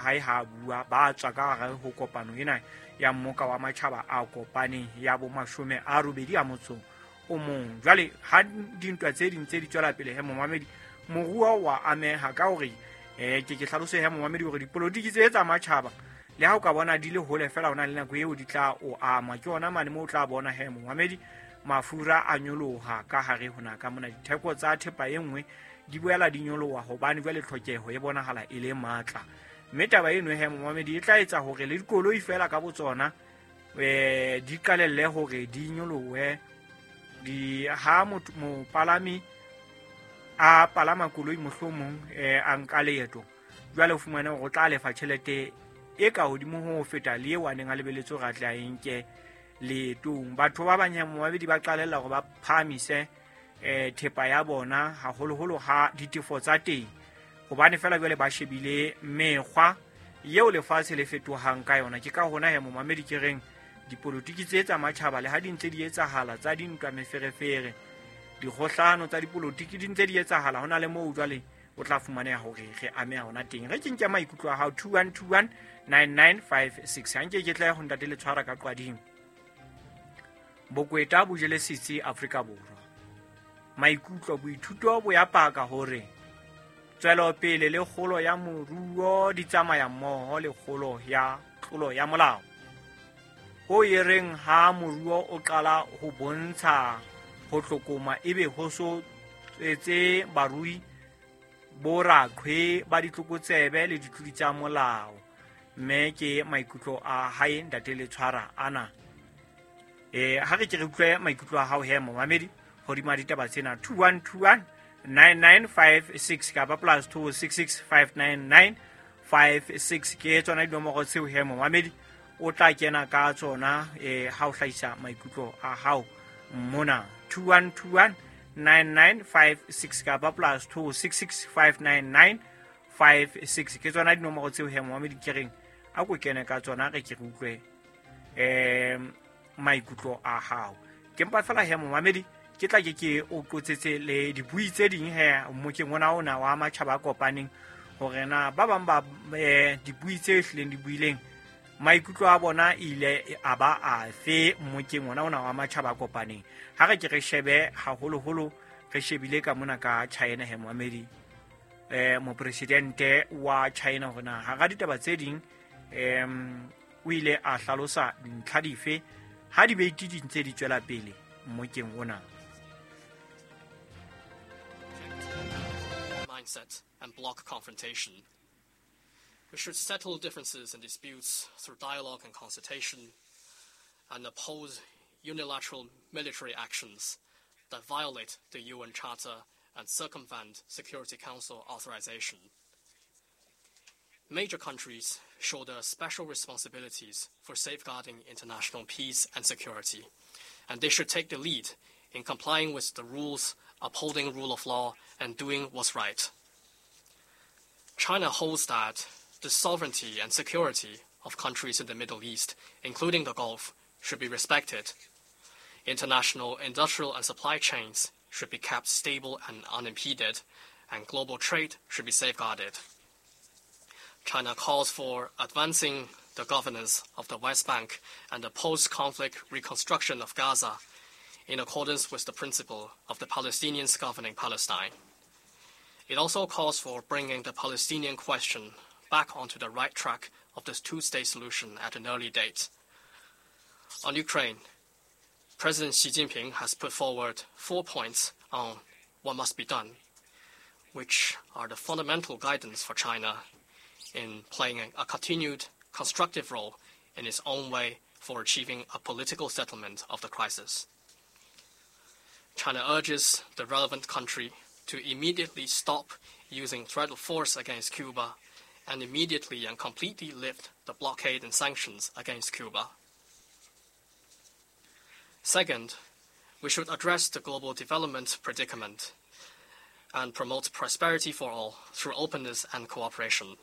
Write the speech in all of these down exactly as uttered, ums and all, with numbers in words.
Hae ha bua ba tswa ka hare ho kopano ena ya mmoka wa matjhaba a kopaneng ya bo mashome a robedi a motso o mong. Jwale ha dintwa tse ding tse di tswela pele he momamedi, moruo wa ameha ka hore eh ke ke hlalose he momamedi hore dipolotiki tse tsa matjhaba le ha o ka bona di le hole fela hona le nako eo di tla o ama. Ke ona mane moo o tla bona he momamedi mafura a nyoloha ka hare hona ka mona, ditheko tsa thepa e nngwe di boela di nyoloha hobane jwale tlhokeho e bonahala e le matla. Mme taba eno he momamedi e tla etsa hore le dikoloi fela ka botsona eh di qalelle hore di nyolohe. Di ha motho mopalami a palama koloi mohlomong eh a nka leeto, jwale o fumane hore o tla lefa tjhelete e ka hodimo ho feta le eo a neng a lebeletse hore a tle a e nke leetong. Batho ba bang momamedi ba qalella hore ba phahamise eh thepa ya bona haholoholo ha ditefo tsa teng, hobane fela jwale ba shebile mekgwa eo lefatshe le fetohang ka yona. Ke ka hona he momamedi ke reng dipolotiki tse tsa matjhaba le ha di ntse di etsahala tsa dintwa meferefere, dikgohlano tsa dipolotiki di ntse di etsahala, hona le moo jwale o tla fumaneha hore re ameha hona teng. Re ke nke maikutlo a hao two one two one nine nine five six. Ha nke ke tla ho ntate le tshwara ka qwading. Bokweta bo jele setsi Afrika Borwa. Maikutlo boithuto bo ya paka hore tswelopele le kgolo ya moruo di tsamaya mmoho le kgolo ya tlolo ya molao. Ho e reng ha moruo o qala ho bontsha ho tlokoma ebe ho so tswetse barui bo raqhwe ba ditlokotsebe le ditlodi tsa molao. Mme ke maikutlo a hae ntate le tshwara ana. Eh ha re ke re utlwe maikutlo a hao he momamedi hodima ditaba tsena two one two one nine nine five six kapa plus two six six five nine nine five six ke tsona dinomoro tseo he momamedi o tla kena ka tsona eh ha o hlahisa maikutlo a hao mona two one two one nine nine five six kapa plus two six six five nine nine five six ke tsona dinomoro tseo he momamedi ke reng a ko kene ka tsona re ke re utlwe eh maikutlo a hao. Ke mpa fela he momamedi ke tla ke ke o qotsetse le dibui tse ding he mokeng ona ona wa matjhaba a kopaneng hore na ba bang ba eh, dibui tse hlileng di buileng maikutlo a bona ile a ba afe mokeng ona ona wa matjhaba a kopaneng. Ha re ke re shebe haholoholo re shebile ka mona ka China he momamedi eh mopresidente wa China hore na hara ditaba tse ding em o ile a hlalosa dintlha dife ha dibate di ntse di tswela pele mokeng ona. Mindset and block confrontation. We should settle differences and disputes through dialogue and consultation and oppose unilateral military actions that violate the U N Charter and circumvent Security Council authorization. Major countries shoulder special responsibilities for safeguarding international peace and security, and they should take the lead in complying with the rules, upholding rule of law, and doing what's right. China holds that the sovereignty and security of countries in the Middle East, including the Gulf, should be respected. International industrial and supply chains should be kept stable and unimpeded, and global trade should be safeguarded. China calls for advancing the governance of the West Bank and the post-conflict reconstruction of Gaza in accordance with the principle of the Palestinians governing Palestine. It also calls for bringing the Palestinian question back onto the right track of the two-state solution at an early date. On Ukraine, President Xi Jinping has put forward four points on what must be done, which are the fundamental guidance for China in playing a continued constructive role in its own way for achieving a political settlement of the crisis. China urges the relevant country to immediately stop using threat of force against Cuba and immediately and completely lift the blockade and sanctions against Cuba. Second, we should address the global development predicament and promote prosperity for all through openness and cooperation.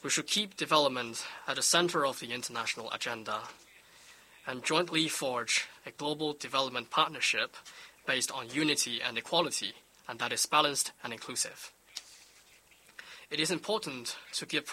We should keep development at the center of the international agenda and jointly forge a global development partnership based on unity and equality, and that is balanced and inclusive. It is important to give